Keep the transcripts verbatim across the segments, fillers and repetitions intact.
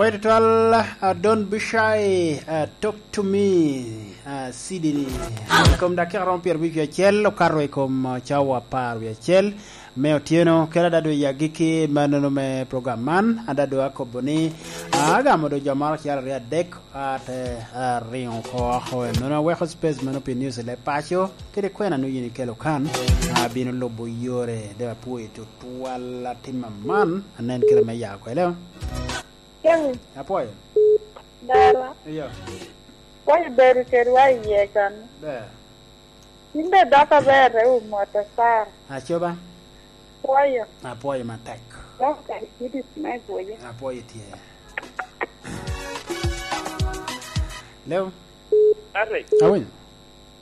Pwod tutwal, uh, don't be shy, uh, talk to me, uh, Sydney. I kom dakika romo pyero abic wie acel, okato i kom, uh, cawa apar wie acel me otyeno, kede adado i agikki manono me program man, adado akobo ni, uh, agamo do jo moro acel aryo adek, ate, uh, ringo oko oko, enono aweko space mano pi news i leb paco, kede kwena nonyo yin ikelo kan, uh, abino lubo yore, de apwoyo tutwal atima man, anen kede me ya kwede. Jami, apwoyo. Dala. Iyo. Apwoyo bedo kedwa iye kan. Ber. In be dok aber te wumo ata Sara. Acoba. Apwoyo. Apwoyo matek. Dok kadi kidi me gwoyo. Apwoyo tye. Leo. Patrick. Awinyo.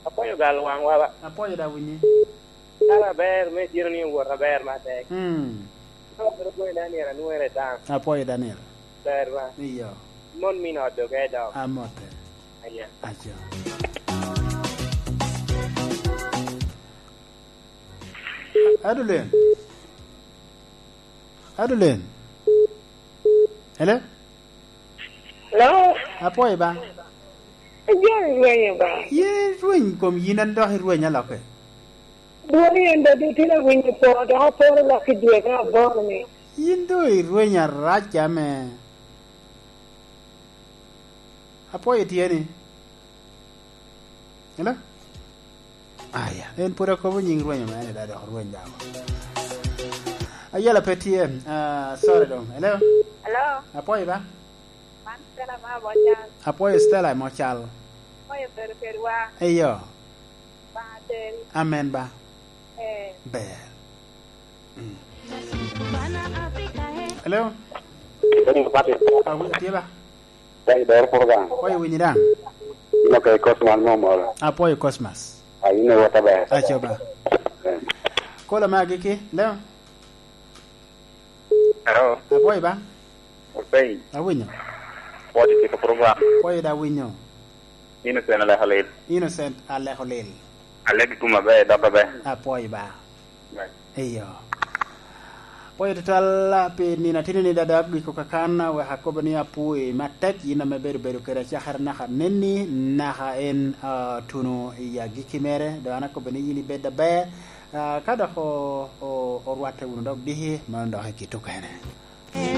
Apwoyo gal waŋwa ba. Apwoyo da winyi. Kara aber, me tino ni owot aber matek. Mm. Ka obino goyo Daniel anwere daŋ. Apwoyo Daniel. Ber ba. Iyo. Mon min ot doge dok. Amote. Aya. Aco. Adulen. Adulen. Hello? Hello? Apwoyo ba. Ajoni rwenyo ba. Ye rweny kom yin an dok irweny alokke. Dwoni en dadi tin awinyo po, dok aporo lok i dwe me aboro ni. Yin do irweny arac ame. Apwoyo tye ni. Hello? Aya, en pwod akobo nying rwenyo mere, da dok rweny dako. Ayela pe tye, ah, sorry dong. Hello? Hello? Apwoyo ba? Man Stella ma Mocal. Apwoyo Stella Mocal. Apwoyo bedo kedwa. Eyo. Ba ateri. Amen ba. Eh. Ber. Mm. Hello? Tony Patrick. Awi, atye ba? Tony Doro program. Apwoyo winyi daŋ. Ino ka i Cosmas mo moro. Apwoyo Cosmas. A, ino wota ber. Aco ba. Eh. Kola ma agikki, Leo? Hello. Apwoyo ba? Openy. Awinyo. Apwoyo tye ka program. Apwoyo da winyo. Innocent Aleko Lil. Innocent Aleko Lil. Alek i kom aber, dok aber. Apwoyo ba. Iyo. Apwoyo tutwal pi nino atino ni dada agiko kakan, wek akobo ni apwoyi matek, yin ame bedo bedo kede acakere naka neni, naka en, ah, tuno i agikki mere, dok an akobo ni yin ibed aber. Ah, ka dok o-, o-, orwatte wunu dok diki, mano dok i kit okene.